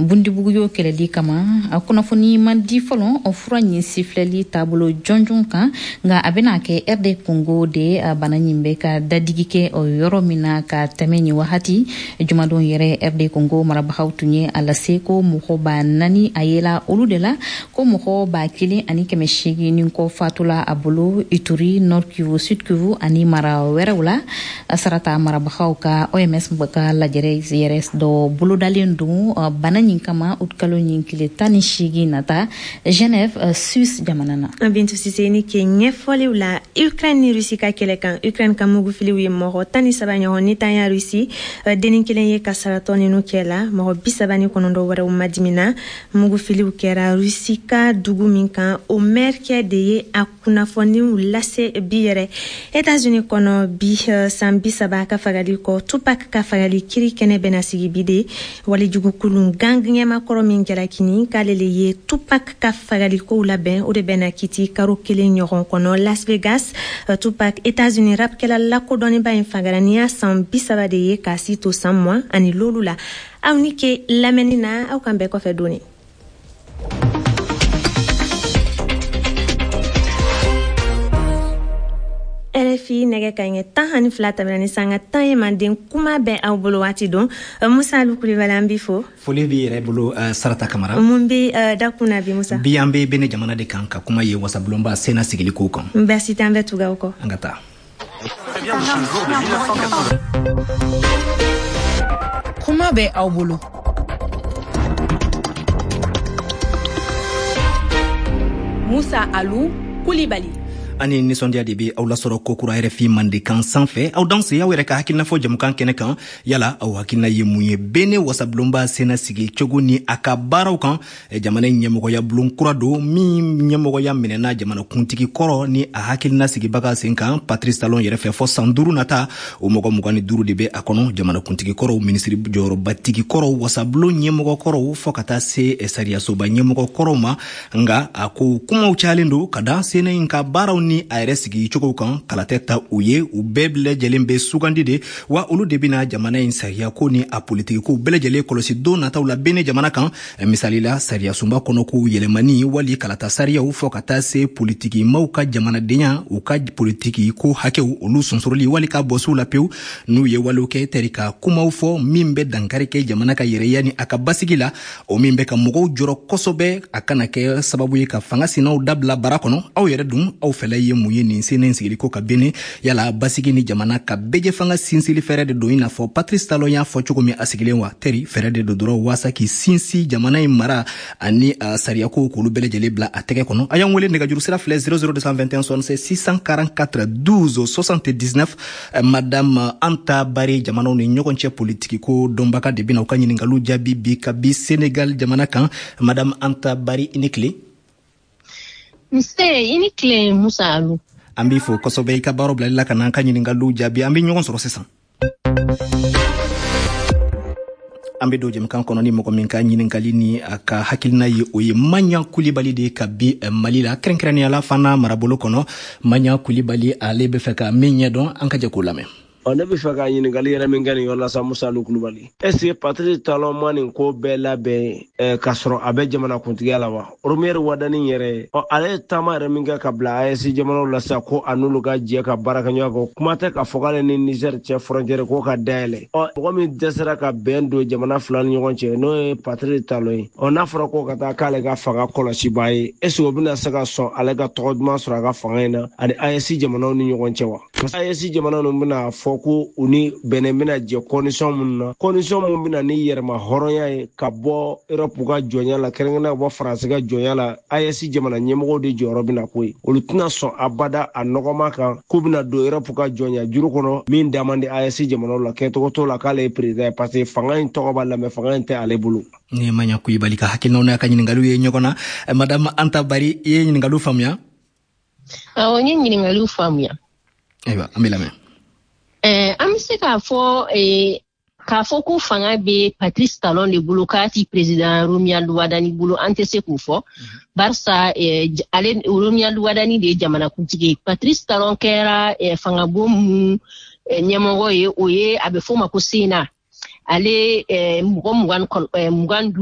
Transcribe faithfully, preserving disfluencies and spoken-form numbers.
Bundibugyo kɛlɛli kama. A kunnafoni man di fɔlɔ o fura ɲin sifilɛli taabolo jɔnjɔn kan, nka a bɛna kɛ R D Congo de bana ɲin bɛ ka dadigi kɛ o yɔrɔ min na ka tɛmɛ nin wagati. Jumadon yɛrɛ, R D Congo marabagaw tun ye a lase ko mɔgɔ ba naani a yela olu de la, ko mɔgɔ ba kelen ani kɛmɛ seegin ni kɔ fatula a bolo Ituri, Nord Kivu, Sud Kivu ani mara wɛrɛw la. Sarata marabagaw ka O M S ka lajɛrɛ yɛrɛ dɔ bolodalen don bana ɲin kama utikalo ɲin tile tan ni seegin nata Genève, Suisse jamana na. Bintu Sise, ni ke ɲɛfɔliw la. Ukraine ni Rusi ka kɛlɛ kan, Ukraine ka mugufiliw ye mɔgɔ tan ni saba ɲɔgɔn ni tanya Rusi denni kelen ye kasaratɔ ninu kɛ la, mɔgɔ bi saba ni kɔnɔntɔn wɛrɛw madimina. Mugufiliw kɛra Rusi ka dugu min kan, o mɛrikɛ de ye a kunnafoniw lase bi yɛrɛ. Etats-Unis kɔnɔ bi, san bi saba ka fagali kɔ, Tupac ka fagali kiri kɛnɛ bɛna sigi bi de. Walijugukulun gang ɲɛmakɔrɔ min jalakini k'ale le ye Tupac ka fagalikow labɛn, o de bɛna kiti karo kelen ɲɔgɔn kɔnɔ Las Vegas. Tupac, Etats-Unis rapkɛla lakodɔnniba in fagara ni y'a san bi saba de ye k'a si to san mugan ani lolu la. Aw ni ke lamɛnni na, aw kan bɛɛ kɔfɛ doni. R F I, nɛgɛ ka ɲɛ tan ani fila tɛmɛna ni sanga tan ye. Manden kuma bɛ aw bolo waati don. Musa Alu Kulibali, an b'i fo. Foli b'i yɛrɛ bolo, uh, Sarata Kamara. Mun bɛ uh, dakun na bi, Musa? Bi, an bɛ Bene jamana de kan ka kuma ye wasabulonba Sénat sigili kow kan. Baasi tɛ, an bɛ tugu aw kɔ. An ka taa. Kuma bɛ aw bolo. Musa Alu Kulibali. Ani nisɔndiya de be aw lasɔrɔ kokura R F I Mandenkan sanfɛ. Aw danse, aw yɛrɛ ka hakilina fɔ jamukan kɛnɛ kan. Yala aw hakilina ye mun ye Bene wasabulonba Sénat sigi cogo ni a ka baaraw kan? Jamana ɲɛmɔgɔya bulon kura don min ɲɛmɔgɔya minɛna jamanakuntigi kɔrɔ ni a hakilina sigibaga sen kan, Patrice Talon yɛrɛ fɛ, fɔ san duuru nata. O mɔgɔ mugan ni duuru de be a kɔnɔ: jamanakuntigi kɔrɔw, minisiri jɔyɔrɔbatigi kɔrɔw, wasabulon ɲɛmɔgɔ kɔrɔw, fɔɔ ka taa se sariyasoba ɲɛmɔgɔ kɔrɔw ma. Nga a ko kumaw cayalen don ka da Sénat in ka baaraw ni a yɛrɛ sigi cogo kan. Kala tɛ ta u ye, u bɛɛ lajɛlen bɛ sugandi de wa. Olu de bɛna jamana in sariya ko ni a politiki ko bɛɛ lajɛlen kɔlɔsi don nataw la Bene jamana kan. Misali la, sariya sunba kɔnɔ kow yɛlɛmani wali kalata sariyaw, fɔ ka taa se politiki maw ka jamanadenya, u ka politiki ko hakɛw, olu sonsoroli wali ka bɔsiw la pewu n'u ye walew kɛ tɛri ka kumaw fɔ min bɛ dankari kɛ jamana ka yɛrɛya ni a ka basigi la, o min bɛ ka mɔgɔw jɔrɔ kosɛbɛ, a kana kɛ sababu ye ka fanga sinaw dabila bara kɔnɔ. Aw yɛrɛ dun, aw fɛla ye mun ye nin Sénat sigili ko ka Bene? Yala basigi ni jamana ka bɛjɛ fanga sinsili fɛɛrɛ de don, i n'a fɔ Patrice Talon y'a fɔ cogo min a sigilen wa, tɛri fɛɛrɛ de don dɔrɔn waasa k'i sinsin jamana in mara ani uh, sariyakow k'olu bɛɛ lajɛlen bila a tɛgɛ kɔnɔ? A y'an wele, nɛgɛjuru sira filɛ: zéro zéro deux vingt et un soixante-seize six cent quarante-quatre douze soixante-dix-neuf. Madame Anta Bari, jamanaw ni ɲɔgɔn cɛ politiki ko dɔnbaga de bɛna u ka ɲiningaliw jaabi bi ka bi Senegal jamana kan. Madame Anta Bari, i ni tile. Nse, i ni tile, Musa Alu. An b'i fo kosɛbɛ i ka baaraw bilali la ka n'an ka ɲiningaliw jaabi. An bɛ ɲɔgɔn sɔrɔ sisan. An be don jɛmukan kɔnɔ ni mɔgɔ min ka ɲininkali ni a ka hakilina ye, o ye Maɲa Kulibali de ka bi Mali la, kɛrɛnkɛrɛnnenya la Fana marabolo kɔnɔ. Maɲa Kulibali, ale be fɛ ka min ɲɛdɔn, an ka jɛ k'o lamɛn. Ɔ, ne bɛ fɛ ka ɲininkali yɛrɛ min kɛ nin yɔrɔ la sa, Musa Alu Kulubali, est ce que Patrice Talon ma nin ko bɛɛ labɛn eh, k'a sɔrɔ a bɛ jamana kuntigiya la wa? Romuald Wadani yɛrɛ, ɔ, ale ye taama yɛrɛ min kɛ ka bila A E S jamanaw la sisan ko a n'olu ka jɛ ka baara kɛ ɲɔgɔn kan, kuma tɛ k'a fɔ k'ale ni Niger cɛ frontière ko ka dayɛlɛ. Ɔ, mɔgɔ min dɛsɛra ka bɛn don jamana fila ni ɲɔgɔn cɛ, n'o ye Patrice Talon ye, ɔ, n'a fɔra ko ka taa k'ale ka fanga kɔlɔsibaa ye, est ce que o bɛna se ka sɔn ale ka tɔgɔ duman sɔrɔ a ka fanga in na ani A E S jamanaw ni ɲɔgɔn cɛ wa? A E S jamanaw ninnu bɛna fɔ ko u ni Bɛnɛ bɛna jɛ condition minnu na, condition mun bɛna ni yɛrɛma hɔrɔnya ye ka bɔ Europe ka jɔnya la, kɛrɛnkɛrɛnnenya ka bɔ Faransi ka jɔnya la, A E S jamana ɲɛmɔgɔw de jɔyɔrɔ bɛna ko ye. Olu tɛna sɔn abada a nɔgɔma kan k'u bɛna don Europe ka jɔnya juru kɔnɔ min da man di A E S jamanaw la. Kɛcogo t'o la k'ale ye président ye, parce que fanga in tɔgɔ b'a la, mais fanga in tɛ ale bolo. Ni Maɲa Kulibali ka hakilinaw n'a ka ɲiningaliw ye ɲɔgɔn na. Madame Anta Bari, i ye ɲiningaliw faamuya? Awɔ, n ye ɲininkaliw faamuya. Ayiwa, an bɛ lamɛn. Eh, an bɛ se k'a fɔ eh, k'a fɔ ko fanga bɛ Patrice Talon de bolo k'a ti président Romuald Wadani bolo, an tɛ se k'o fɔ, barisa eh, ale Romuald Wadani de ye jamanakuntigi ye. Patrice Talon kɛra eh, fangabon mun eh, ɲɛmɔgɔ ye, o ye a bɛ f'o ma ko Sénat. Ale eh, mɔgɔ mugan mugan